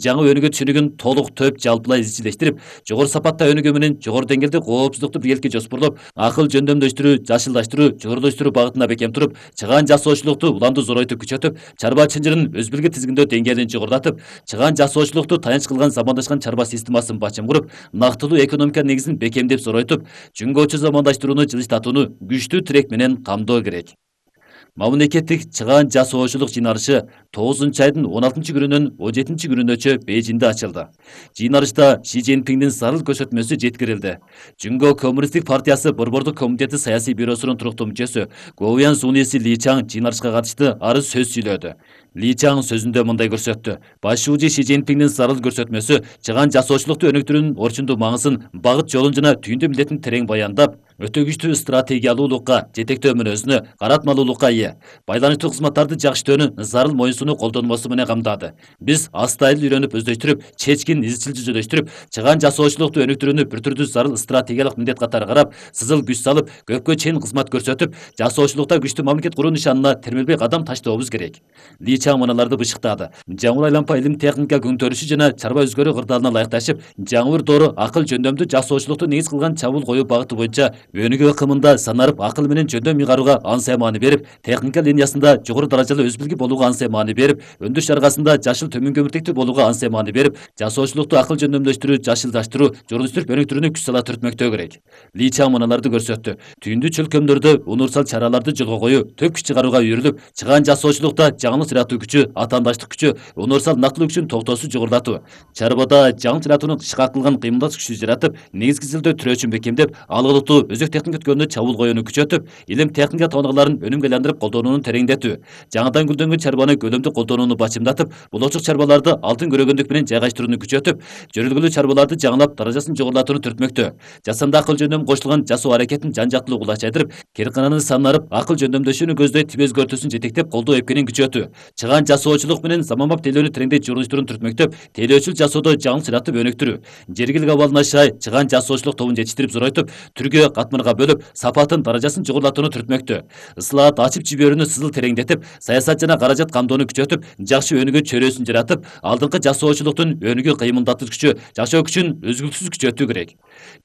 жаңы өнүгүү түшүнүгүн толук төп жалпылай изчилештирип, жогору сапатта өнүгүү менен жогору деңгээлде коопсуздукту биргеликке жоспорлоп, акыл жөндөмдөштүрүү, жашылдаштыруу, жогорулаштыруу багытына бекем туруп, чыгаан жасоочулукту уланды зоройтуп күчөтүп, чарба чынжырын өз билги тизгиндөө деңгээлин жогорулатып, чыгаан жасоочулукту таянч кылган замандашкан чарба системасын бачым куруп, нактылуу экономика негизин бекемдеп зоройтуп, жөнгөчү замандаштырууну жылыштатууну күчтүү тирек менен камдоо керек. Мамлекеттик чыгаан жасоочулук жыйналышы 9-айдын 16-күнүнөн 17-күнүнөчө Бейжиңде ачылды. Жыйналышта Ши Цзиньпиңдин зарыл көрсөтмөсү жеткирилди. Жөнгө Коммунисттик партиясы Борбордук комитети саясий бюросунун туруктуу мүчөсү Гоуян Суниси Ли Чаң жыйналышка катышты арыз сөз сүйлөдү. Ли Чаң сөзүндө мындай көрсөттү: башчы Ши Цзиньпиңдин зарыл көрсөтмөсү чыгаан жасоочулукту өнүктүрүүнүн орчундуу маңызын, багыт жолун жана түйүндүү милдетин терең баяндап, өтө күчтүү стратегиялуулукка, жетектөө мүнөзүнө, каратмалуулукка ээ, байланыштуу кызматтарды жакшыртүүнү зарыл моюнсунуу колдонмосу менен камдады. Биз астайыл үйрөнүп өздөштүрүп, чечкин изчил жүзөлөштүрүп, чыгаан жасоочулукту өнүктүрүүнү бир түрдүү зарыл стратегиялык милдет катары карап, сызыл күч салып, көпкө чейин кызмат көрсөтүп, жасоочулукта күчтүү мамлекет куруу нишанына термелбей кадам таштообуз керек. Ли Чаң мыналарды бышыктады: жаңы айлампа илим техника күнтөрүшү жана чарба өзгөрүү кырдаалына ылайыкташып, жаңы бир доору акыл жөндөмдүү жасоочулукту негиз кылган чабуул коюу багыты боюнча өнүгүү ыкымында санарып акыл менен жөндөм ыйгарууга ансая маани берип, техника линиясында жогору даражалуу өз билги болууга ансая маани берип, өндүрүш чаргасында жашыл төмөн көмүртектүү болууга ансая маани берип, жасоочулукту акыл жөндөмдөштүрүү, жашылдаштыруу, жогорулаштырып өнүктүрүүнү күч сала түртмөктөө керек. Ли Чаң мыналарды көрсөттү: түндүү чөлкөмдөрдө универсал чараларды жолго коюу, төп күч чыгарууга үйрүлүп, чыгаан жасоочулукта жаңылык жаратуу күчү, атаандаштык күчү, универсал нактылуу күчүн токтоосуз жогорулатуу, чарбада жаңы жаратууну ышка кылган кыймылдат күчү жаратып, негизги изилдөө түрөөчүн бекемдеп, алгылыктуу өзөк техника өткөнүнө чабуул коюуну күчөтүп, илим техника тооналарын өнүмгө айландырып колдонууну тереңдетүү, жаңыдан гүлдөнгөн чарбаны көлөмдүү колдонууну бачымдатып, болочок чарбаларды алтын көрөгөндүк менен жайгаштырууну күчөтүп, жөрөлгөлүү чарбаларды жаңылап, даражасын жогорулатууну түртмөктө, жасанды акыл жөндөм кошулган жасоо аракетин жан-жактылуу кулачайдырып, керкананы санарып, акыл жөндөмдөшүүнү көздөй тип өзгөртүүсүн жетектеп, колдоо эпкенин күчөтүү, чыгаан жасоочулук менен заманбап тейлөөнү тереңдей жогорулаштырууну түртмөктөп, тейлөөчүл жасоодо жаңылык жаратып өнүктүрүү, жергилик абалына шай чыгаан жасоочулук тобун жетиштирип зоройтуп, түргө катмарга бөлүп, сапатын, даражасын жогорулатууну түртмөктө, ысылаат ачып жиберүүнү сызыл тереңдетип, саясат жана каражат камдоону күчөтүп, жакшы өнүгүү чөйрөсүн жаратып, алдыңкы жасоочулуктун өнүгүү кыймылдатыш күчү, жашоо күчүн үзгүлтүксүз күчөтүү керек.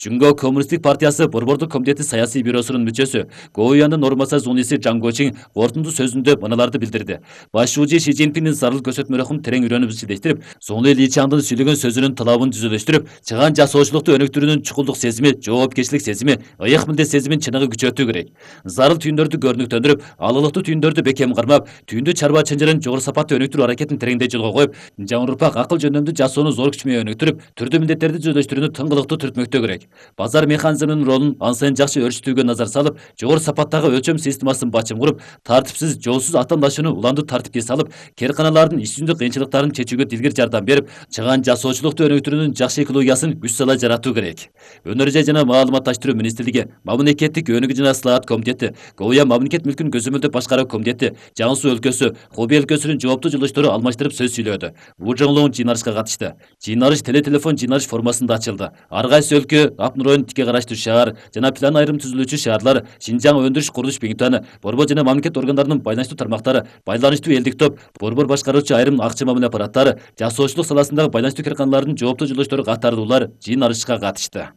Жөнгө Коммунисттик партиясы Борбордук комитети саясий бюросунун мүчөсү Гоуяндын орун басары Суниси Чаң Гочиң кортундуу сөзүндө мыналарды билдирди: башчы Ши Цзиньпиңдин зарыл көрсөтмөлөрүн терең үйрөнүп изчилештирип, Суни Ли Чаңдын сүйлөгөн сөзүнүн талабын түзөлөштүрүп, чыгаан жасоочулукту өнүктүрүүнүн чукулдук сезими, жоопкерчилик сезими, ыйык милдет сезимин чыныгы күчөтүү керек. Зарыл түйүндөрдү көрүнүктөндүрүп, алгылыктуу түйүндөрдү бекем кармап, түйүндүү чарба чынжырын жогору сапаттуу өнүктүрүү аракетин тереңдей жолго коюп, жаңы урпак акыл жөндөмдүү жасоону зор күч менен өнүктүрүп, түрдүү милдеттерди түзөлөштүрүүнү тыңгылыктуу түртмөктөө керек. Базар механизминин ролун ансайын жакшы өрчүтүүгө назар салып, жогору сапаттагы өлчөм системасын бачым куруп, тартипсиз, жоосуз атаандашууну уланды тартипке салып, керканалардын иш жүзүндө кыйынчылыктарын чечүүгө дилгир жардам берип, чыгаан жасоочулукту өнүктүрүүнүн жакшы экологиясын күч сала жаратуу керек. Өнөр жай жана маалыматташтыруу министрлиги, мамлекеттик өнүгүү жана ысылаат комитети, Гоуян мамлекет мүлкүн көзөмөлдөп башкаруу комитети, Жаңы Суу өлкөсү, Хубей өлкөсүнүн жооптуу жылыштары алмаштырып сөз сүйлөдү. Ву Жоңлоң жыйналышка катышты. Жыйналыш телефон жыйналыш формасында ачылды. Ар кайсы өлкө, Апнур районун тикке караштуу шаар жана план айрым түзүлүүчү шаарлар, Шинжаң өндүрүш курулуш Биңтаны, Борбор жана мамлекет органдарынын байланыштуу тармактары, байланыштуу элдик топ, Борбор башкаруучу айрым акча мамиле аппараттары, жасоочулук саласындагы байланыштуу керканалардын жооптуу жылыштары катарлуулар жыйналышка катышты.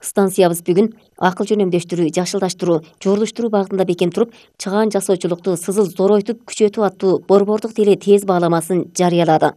Станциябыз бүгүн акыл жөнөмдөштүрүү, жашылдаштыруу, жогорулаштыруу багытында бекем туруп, чыгаан жасоочулукту сызыл зоройтуп күчөтүү аттуу борбордук тили тез бааламасын жарыялады.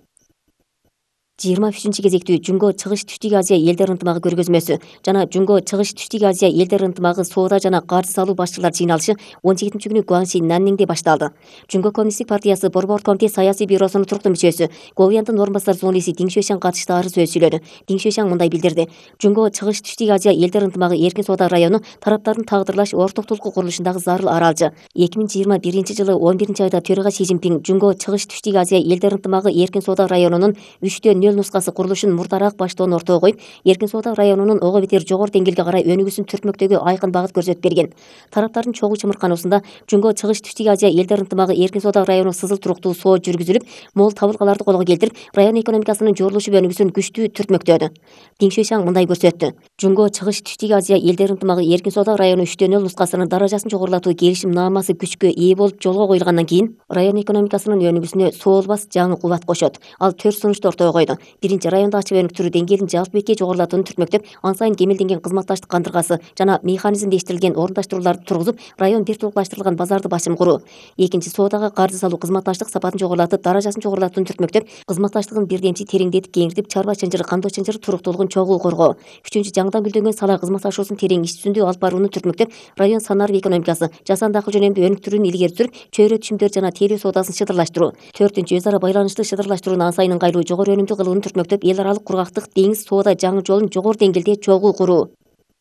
23 кезектүү Жөнгө Чыгыш Түштүк Азия элдер ынтымагы көргөзмөсү жана Жөнгө Чыгыш Түштүк Азия элдер ынтымагы соода жана каржы салуу башчылар жыйналышы 17-күнү Гуанси Нанниңде башталды. Жөнгө Коммунисттик партиясы Борбор комитет саясий бюросунун туруктуу мүчөсү Гоуяндын орун басары Суниси Диң Шуэшаң катышты арыз сөз сүйлөдү. Диң Шуэшаң мындай билдирди: Жөнгө Чыгыш Түштүк Азия элдер ынтымагы эркин соода району тараптардын тагдырлаш ортоктулуку курулушундагы зарыл аралжы. 2021 жылы 11 айда төрага Ши Цзиньпиң Жөнгө Чыгыш Түштүк Азия элдер ынтымагы эркин соода районунун 3/4 нөл нускасы курулушун мурдараак баштоонун ортого коюп, Эркин Соода районунун ого бетер жогору деңгээлге карай өнүгүүсүн түртмөктөгү айкын багыт көрсөтүп берген. Тараптардын чогуу чымыркануусунда Жөнгө Чыгыш Түштүк Азия элдер ынтымагы Эркин Соода району сызыл туруктуу соо жүргүзүлүп, мол табылгаларды колго келтирип, район экономикасынын жорулушуп өнүгүүсүн күчтүү түртмөктөдү. Дин Шуйшаң мындай көрсөттү. Жөнгө Чыгыш Түштүк Азия элдер ынтымагы Эркин Соода району 3/0 нускасынын даражасын жогорулатуу келишим наамасы күчкө ээ болуп жолго коюлгандан кийин район экономикасынын өнүгүүсүнө соолбас жаңы кубат кошот. Ал 4 сунушту ортого койду. Биринчи, райондо ачык өнүктүрүү деңгээлин жалпы бетке жогорулатууну түртмөктөп, ан сайын кемелденген кызматташтык кандыргасы жана механизмдештирилген орундаштырууларды тургузуп, район бир толукташтырылган базарды басым куруу. Экинчи, соодага каржы салуу кызматташтык сапатын жогорулатып, даражасын жогорулатууну түртмөктөп, кызматташтыгын бирдемчи тереңдетип кеңиртип, чарба чынжыр, кандоо чынжыр туруктуулугун чогуу коргоо. Үчүнчү, жаңыдан гүлдөнгөн сала кызматташуусун терең иш жүзүндө алып барууну түртмөктөп, район санарип экономикасы, жасанды акыл жөнөмдүү өнүктүрүүнү илгери сүрүп, чөйрө түшүмдөр жана телөө соодасын шыдырлаштыруу. Төртүнчү, өз ара байланыштуу шыдырлаштырууну ан сайын ыңгайлуу, жогору өнүмдүү кылууну түртмөктөп, эл аралык кургактык деңиз соода жаңы жолун жогору деңгээлде чогуу куруу.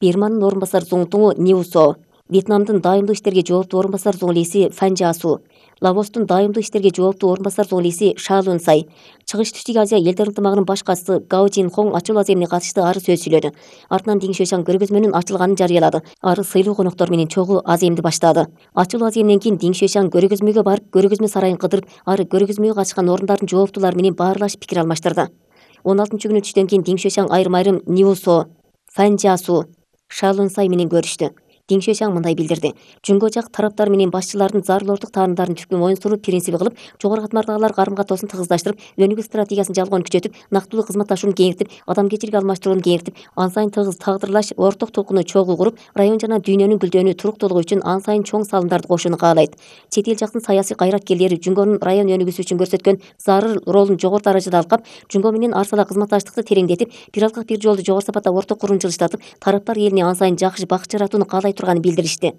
Бирманын орун басары Зуңтуңу Ниусо, Вьетнамдын дайымдуу иштерге жооптуу орун басары зуңлиси Фанжасу, Лаостун дайымдуу иштерге жооптуу орун басары зуңлиси Шалунсай, Чыгыш Түштүк Азия элдер ынтымагынын баш катчысы Гао Жинхон ачуул аземине катыштуу ары сөз сүйлөдү. Артынан Дин Шуйшаң көргөзмөнүн ачылганын жарыялады. Ары сыйлуу коноктор менен чогуу аземди баштады. Ачуул аземден кийин Дин Шуйшаң көргөзмөгө барып, көргөзмө сарайын кыдырып, ары көргөзмөгө катышкан орундардын жооптуулары менен баарлашып пикир алмаштырды. 16-күнү түштөн кийин Дин Шуйшаң айрым Ниусо, Фанжасу, Шалунсай менен көрүштү. Дин Шуйшаң мындай билдирди. Жөнгө жак тараптар менен башчылардын зарылоордук таанымдарын түпкү моюн суруу принциби кылып, жогору катмардагылар карым-катоосун тыгыздаштырып, өнүгүү стратегиясын жалгоон күчөтүп, нактылуу кызматташууну кеңиртип, адамгерчилик алмаштырууну кеңиртип, ан сайын тыгыз тагдырлаш орток толкуну чогуу куруп, район жана дүйнөнүн гүлдөнүү, туруктуулугу үчүн ан сайын чоң салымдарды кошууну каалайт. Чет эл жактын саясий кайраткерлери Жөнгөнүн район өнүгүүсү үчүн көрсөткөн зарыл ролун жогору даражада алкап, Жөнгө менен арсала кызматташтыкты тереңдетип, бир алкак бир жолду жогору сапатта орток курууну жылыштатып, тараптар элине ан сайын жакшы бакыт жаратууну каалай турганын билдиришти.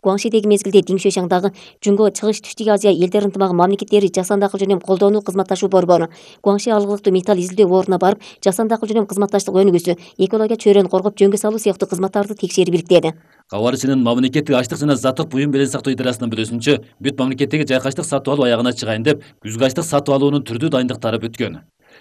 Гуаңшидеги мезгилде Дин Шуйшаң дагы Жөнгө Чыгыш Түштүк Азия элдер ынтымагы мамлекеттери жасанды акыл жөнөм колдоону кызматташуу борбору, Гуаңши алгылыктуу металл изилдөө ордуна барып, жасанды акыл жөнөм кызматташтык өнүгүүсү, экология чөйрөнү коргоп, жөнгө салуу сыяктуу кызматтарды текшерип иликтеди. Кабарчынын мамлекеттик ачлык жана заттык буюм белең сактоо идеясынын бүлөсүнчө бүт мамлекеттеги жайкачтык сатып алуу аягына чыгайын деп, күзгү ачлык сатып алуунун түрдүү дайындыктары бүткөн.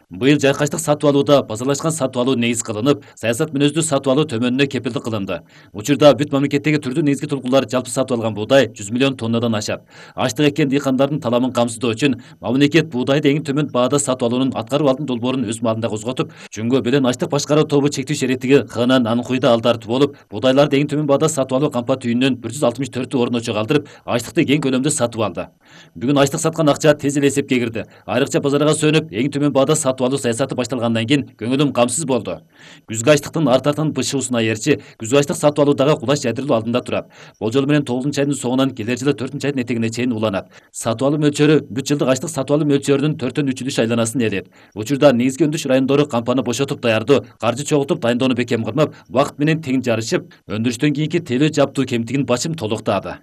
Быйыл жайкачтык сатып алууда базарлашкан сатып алуу негиз кылынып, саясат мүнөздүү сатып алуу төмөнүнө кепилдик кылынды. Учурда бүт мамлекеттеги түрдүү негизги тулкулар жалпы сатып алган буудай 100 миллион тоннадан ашат. Ачлык эккен дыйкандардын таламын камсыздоо үчүн мамлекет буудайды эң төмөн баада сатып алуунун аткарып алдын долбоорун өз маалында козготуп, Жөнгө белен ачлык башкаруу тобу чектүү шериктиги ХНН Анхуйда алдартуу болуп, буудайларды эң төмөн баада сатып алуу кампа түйүнүнөн 164 орночо калтырып, ачлыкты кең көлөмдө сатып алды. Бүгүн ачлык саткан акча тез эле эсепке кирди. Айрыкча базарга сөнүп, эң төмөн баада сатып алуу саясаты башталгандан кийин көңүлүм камсыз болду. Күзгү ачлыктын артартын бышуусуна ээрчи, күзгү ачлык сатып алуудагы кулаш жайдырылуу алдында турат. Болжол менен 9-айдын соңунан келер жылы 4-айдын этегине чейин уланат. Сатып алуу мөлчөрү бүт жылдык ачлык сатып алуу мөлчөрүнүн 4/3 айланасын ээлейт. Учурда негизги өндүрүш райондору кампаны бошотуп даярдоо, каржы чогултуп дайындоону бекем кылмап, убакыт менен тең жарышып, өндүрүштөн кийинки телөө жаптуу кемтигин бачым толуктаады.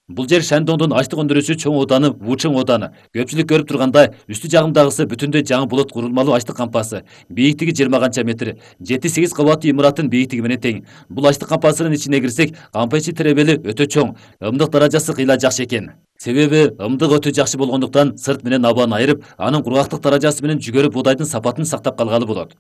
Бул жер Шандоңдун ачлык өндүрүүсү чоң ооданы Вучың ооданы. Көпчүлүк көрүп тургандай, үстү жагындагысы бүтүндөй жаңы болот курулмалуу ачлык кампасы. Бийиктиги 20 канча метр, 7-8 кабаттуу имараттын бийиктиги менен тең. Бул ачлык кампасынын ичине кирсек, кампа ичи теребели өтө чоң, ымдык даражасы кыйла жакшы экен. Себеби ымдык өтө жакшы болгондуктан сырт менен абаны айырып, анын кургактык даражасы менен жүгөрү буудайдын сапатын сактап калгалы болот.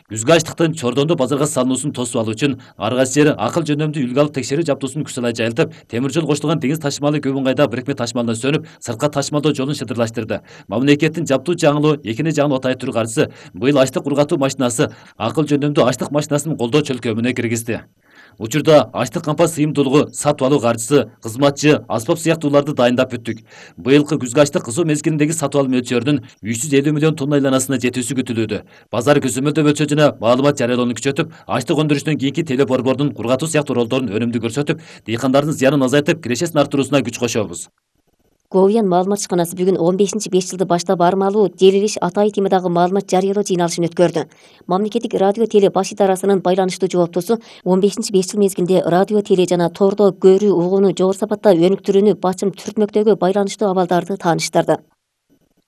Күзгү ачлыктын Чордондо базарга салынуусун тосуп алуу үчүн ар кайсы жери акыл жөндөмдүү үлгү алып текшерүү жабдуусун күч салай жайылтып, темир жол кошулган деңиз ташымалы Көбүнгайда бирикме ташымалынан сөнүп, сыртка ташымалдоо жолун шыдырлаштырды. Мамлекеттин жаптуу жаңылуу экини жагын отай түрү каржысы быйыл ачлык кургатуу машинасы, акыл жөндөмдүү ачлык машинасын колдоо чөлкөмүнө киргизди. Учурда ачлык кампа сыйымдуулугу, сатып алуу каржысы, кызматчы, аспап сыяктууларды дайындап бүттүк. Быйылкы күзгү ачлык кызуу мезгилиндеги сатып алуу мөлчөрүнүн 350 миллион тонна айланасына жетүүсү күтүлүүдө. Базар көзөмөлдөө мөлчөрү жана маалымат жарыялоону күчөтүп, ачлык өндүрүшүнөн кийинки теле борбордун кургатуу сыяктуу ролдорун өнүмдүү көрсөтүп, дыйкандардын зыянын азайтып, кирешесин арттыруусуна күч кошобуз. Говьян маалымат ишканасы бүгүн 15-5 жылды баштап армалуу Желилиш Атай темадагы маалымат жарыялоо жыйналышын өткөрдү. Мамлекеттик радио теле баш идарасынын байланыштуу жооптосу 15-5 жыл мезгилинде радио теле жана тордо көрүү угууну жогору сапатта өнүктүрүүнү бачым түртмөктөгү байланыштуу абалдарды тааныштырды.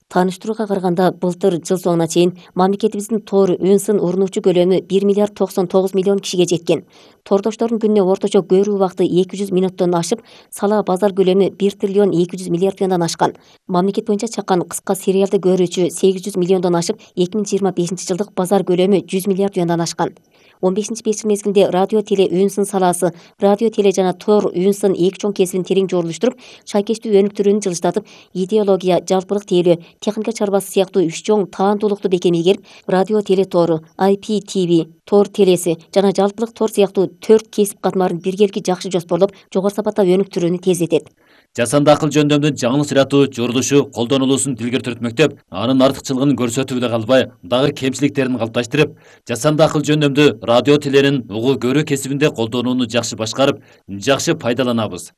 Тааныштырууга караганда былтыр жыл соңуна чейин мамлекетибиздин тоор үн сын урунуучу көлөмү 1 миллиард 99 миллион кишиге жеткен. Тоордоштордун күнүнө орточо көрүү убакыты 200 минуттон ашып, сала базар көлөмү 1 триллион 200 миллиард тыяндан ашкан. Мамлекет боюнча чаккан кыска сериалды көрүүчү 800 миллиондон ашып, 2025 жылдык базар көлөмү 100 миллиард тыяндан ашкан. 15-5 жыл мезгилинде радио теле үн сын салаасы, радио теле жана тоор үн сын эки чоң кесибин терең жорулуштуруп, шайкештүү өнүктүрүүнү жылыштатып, идеология, жалпылык тейлөө, техника чарбасы сыяктуу үч чоң таандуулукту бекем ийгерип, радио теле тоору, IPTV, тоор телеси жана жалпылык тоор сыяктуу 4 кесип катмарын биргелики жакшы жоспорлоп, жогору сапатта өнүктүрүүнү тездетет. Жасанды акыл жөндөмдүн жаңылык ырааттуу журулушу колдонулуусун дилгер түртмөктөп, анын артыкчылыгын көрсөтүп эле калбай, дагы кемчиликтерин калыпташтырып, жасанды акыл жөндөмдү радио теленин угуу көрүү кесибинде колдонууну жакшы башкарып, жакшы пайдаланабыз.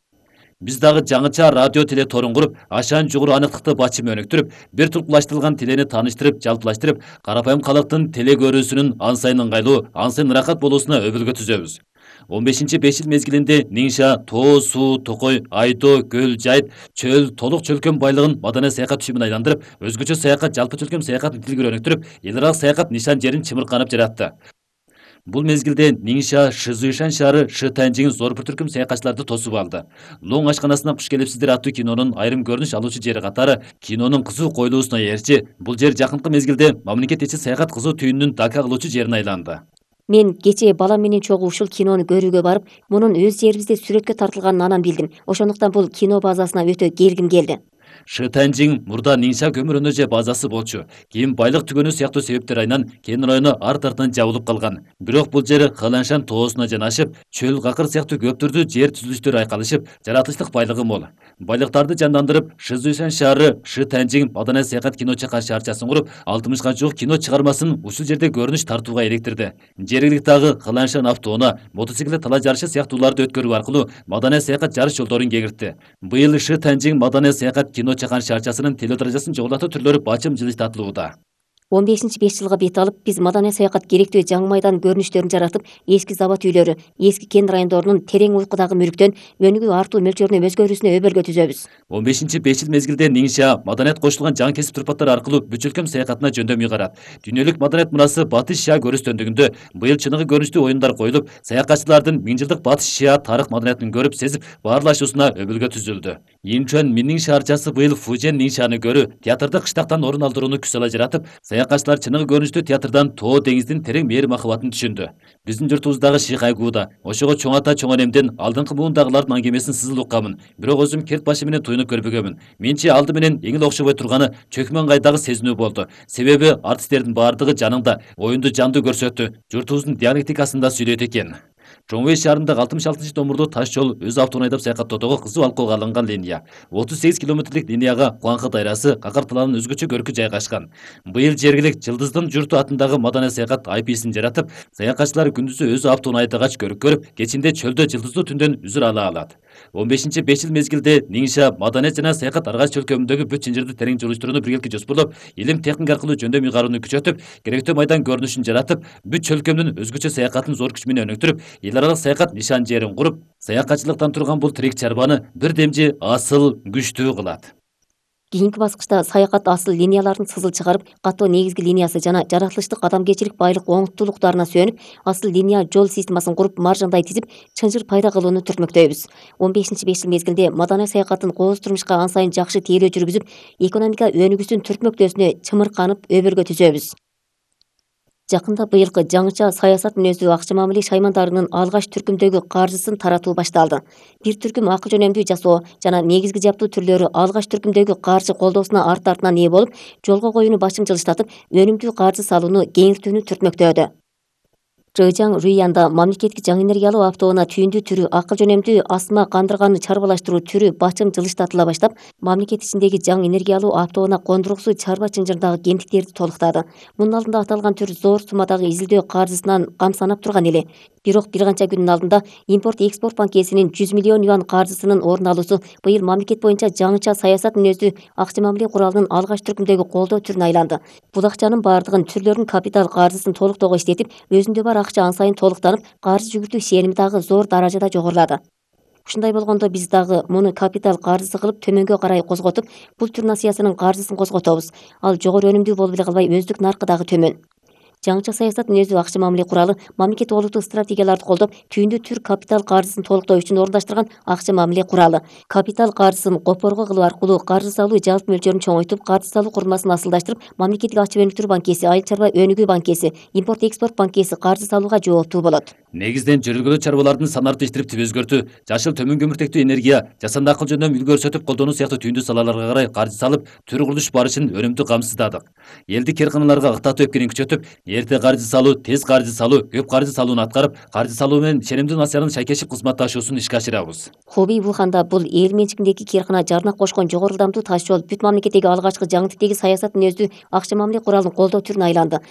Биз дагы жаңыча радио теле тоорун куруп, ашаан жугуру аныктыкты бачымы өнүктүрүп, бир тулкулаштырылган телени тааныштырып, жалпылаштырып, карапайым калктын теле көрүүсүнүн ан сайын ыңгайлуу, ан сайын ырахат болуусуна өбөлгө түзөбүз. 15-5 жыл мезгилинде Ниңша, Тоо, Суу, Токой, Айдоо, Көл, Жайыт, Чөл, толук чөлкөм байлыгын маданий саякат түшүмүн айландырып, өзгөчө саякат жалпы чөлкөм саякатын тилгер өнүктүрүп, эл аралык саякат нишан жерин чымырканып жаратты. Бул мезгилде Ниңша, Шызуйшан шаары Шытанжиң зор бир түркүм саякатчыларды тосуп алды. Лоң ашканасына куш келипсиздер аттуу кинонун айрым көрүнүш алуучу жери катары кинонун кызуу коюлуусуна ээрчи, бул жер жакынкы мезгилде мамлекет ичи саякат кызуу түйүнүнүн дака кылуучу жерине айланды. Мен кечээ балам менен чогуу ушул кинону көрүүгө барып, мунун өз жерибизде сүрөткө тартылганын анан билдим. Ошондуктан бул кино базасына өтө келгим келди. Шытанжиң мурда Ниңша көмүр өнөжө базасы болчу. Кийин байлык түгөнүү сыяктуу себептер айынан кен району арт-артынан жабылып калган. Бирок бул жер Кыланшан тоосуна жанашып, чөл какыр сыяктуу көп түрдүү жер түзүлүштөр айкалышып, жаратылыштык байлыгы мол. Байлыктарды жандандырып, Шызуйшан шаары Шытанжиң маданий саякат кино чакан шаарчасын куруп, 60га жук кино чыгармасын ушул жерде көрүнүш тартууга иликтирди. Жергиликтагы Кыланшан автоунаа, мотоциклет тала жарышы сыяктууларды өткөрүү аркылуу маданий саякат жарыш жолдорун кеңиртти. Быйыл Шытанжиң маданий саякат кино чакан шаарчасынын теледаражасын жогорулатуу түрлөрү бачым жылыштатылууда. 15-5 жылга бет алып, биз маданий саякат керектүү жаңы майдан көрүнүштөрүн жаратып, эски завод үйлөрү, эски кен райондорунун терең уйкудагы мүлктөн өнүгүү артуу мөлчөрүнө өзгөрүүсүнө өбөлгө түзөбүз. 15-5 жыл мезгилде Ниңша маданият кошулган жаңы кесип турпаттар аркылуу бүт чөлкөм саякатына жөндөм ыйгарат. Дүйнөлүк маданият мурасы Батыш Шия көрүстөндүгүндө быйыл чыныгы көрүнүштүү оюндар коюлуп, саякатчылардын 1000 жылдык Батыш Шия тарых маданиятын көрүп, сезип, баарлашуусуна өбөлгө түзүлдү. Инчуан Минниң шаарчасы быйыл Фужен Ниңшаны көрүү, театрды кыштактан орун алдырууну күч сала жаратып, саякатчылар чыныгы көрүнүштүү театрдан Тоо деңиздин терең мээрим махабатын түшүндү. Биздин журтубуздагы Шихайгууда, ошого чоң ата чоң энемден алдыңкы муундагылардын аңгемесин сызыл укканмын. Бирок өзүм керт башы менен туюнуп көрбөгөмүн. Менчи алды менен эң эле окшобой турганы чөкмөн кайдагы сезинүү болду. Себеби артисттердин баардыгы жаныңда, оюнду жандуу көрсөттү. Журтубуздун диалектикасында сүйлөйт экен. Чоңой шаарындагы 66-томурдуу таш жол өз автоун айдап саякаттоодого кызуу алкоого алынган линия. 38 километрлик линияга Куаңкы дайрасы, Какар талаанын өзгөчө көркү жайгашкан. Быйыл жергилик Жылдыздын журту атындагы маданий саякат IP-син жаратып, саякатчылар күндүзү өзү автоун айдагач көрүк көрүп, кечинде чөлдө жылдыздуу түндөн үзүр ала алат. 15-5 жыл мезгилде Ниңша маданият жана саякат аргайч чөлкөмүндөгү бүт чынжырды терең жолуштурууну биргеликте жоспорлоп, илим техника аркылуу жөндөм ыйгарууну күчөтүп, керектүү майдан көрүнүшүн жаратып, бүт чөлкөмдүн өзгөчө саякатын зор күч менен өнүктүрүп, эл аралык саякат нишан жерин куруп, саякатчылыктан турган бул тирик чарбаны бир демжи асыл, күчтүү кылат. Кийинки баскычта саякат асыл линияларын сызыл чыгарып, катуу негизги линиясы жана жаратылыштык адамгерчилик байлык оңуктуулуктарына сүйөнүп, асыл линия жол системасын куруп, маржандай тизип, чынжыр пайда кылууну түртмөктөйбүз. 15-5 жыл мезгилде маданий саякаттын кооз турмушка ан сайын жакшы тейлөө жүргүзүп, экономика өнүгүүсүн түртмөктөөсүнө чымырканып, өбөлгө түзөбүз. Жакында быйылкы жаңыча саясат мүнөздүү акча мамиле шаймандарынын алгач түркүмдөгү каржысын таратуу башталды. Бир түркүм акы жөнөмдүү жасоо жана негизги жаптуу түрлөрү алгач түркүмдөгү каржы колдоосуна арт-артынан ээ болуп, жолго коюуну бачым жылыштатып, өнүмдүү каржы салууну кеңиртүүнү түртмөктөөдө. Чжэжяң Руянда мамлекеттик жаңы энергиялуу автоунаа түйүндүү түрү акыл жөнөмдүү асма кандырганды чарбалаштыруу түрү бачым жылыштатыла баштап, мамлекет ичиндеги жаңы энергиялуу автоунаа кондургусу чарба чынжырдагы кемтиктерди толуктады. Мунун алдында аталган түр зор суммадагы изилдөө каржысынан камсанап турган эле. Бирок бир канча күндүн алдында импорт-экспорт банкесинин 100 миллион юан каржысынын орун алуусу быйыл мамлекет боюнча жаңыча саясат мүнөздүү акча мамиле куралынын алгач түркүмдөгү колдоо түрүнө айланды. Бул акчанын баардыгын түрлөрүн капитал каржысын толуктоого иштетип, өзүндө бар акча ан сайын толуктанып, каржы жүгүртүү сеними дагы зор даражада жогорулады. Ушундай болгондо биз дагы муну капитал каржысы кылып төмөнгө карай козготуп, пул турнациясынын каржысын козготобуз. Ал жогору өнүмдүү болуп эле калбай, өздүк наркы дагы төмөн. Жаңыча саясат мүнөздүү акча мамиле куралы мамлекет олуттук стратегияларды колдоп, түйүндү түр капитал каржысын толуктоо үчүн орундаштырган акча мамиле куралы. Капитал каржысын копорго кылуу аркылуу каржы салуу жалпы мөлчөрүн чоңойтуп, каржы салуу курулмасын асылдаштырып, мамлекеттик ачык өнүктүрүү банкеси, айыл чарба өнүгүү банкеси, импорт экспорт банкеси каржы салууга жооптуу болот. Негизден жүргүлө чарбалардын санын арттыштырып өзгөртүү, жашыл төмөн көмүртектүү энергия, жасанды акыл жөндөм үлгү көрсөтүп колдонуу сыяктуу түйүндүү салаларга карай каржы салып, түр курулуш барышын өнүмдүү камсыздадык. Элдик кыйрканаларга ыктатуу эпкенин күчөтүп, эрте каржы салуу, тез каржы салуу, көп каржы салууну аткарып, каржы салуу менен ченемдүү насыянын шайкешип кызматташуусун ишке ашырабыз. Хобий Вуханда бул эл менчигиндеги кыйркана жарнак кошкон жогору ылдамдуу таш жол бүт мамлекеттеги алгачкы жаңы типтеги саясат мүнөздүү акча мамиле куралын колдоо түрүнө айланды.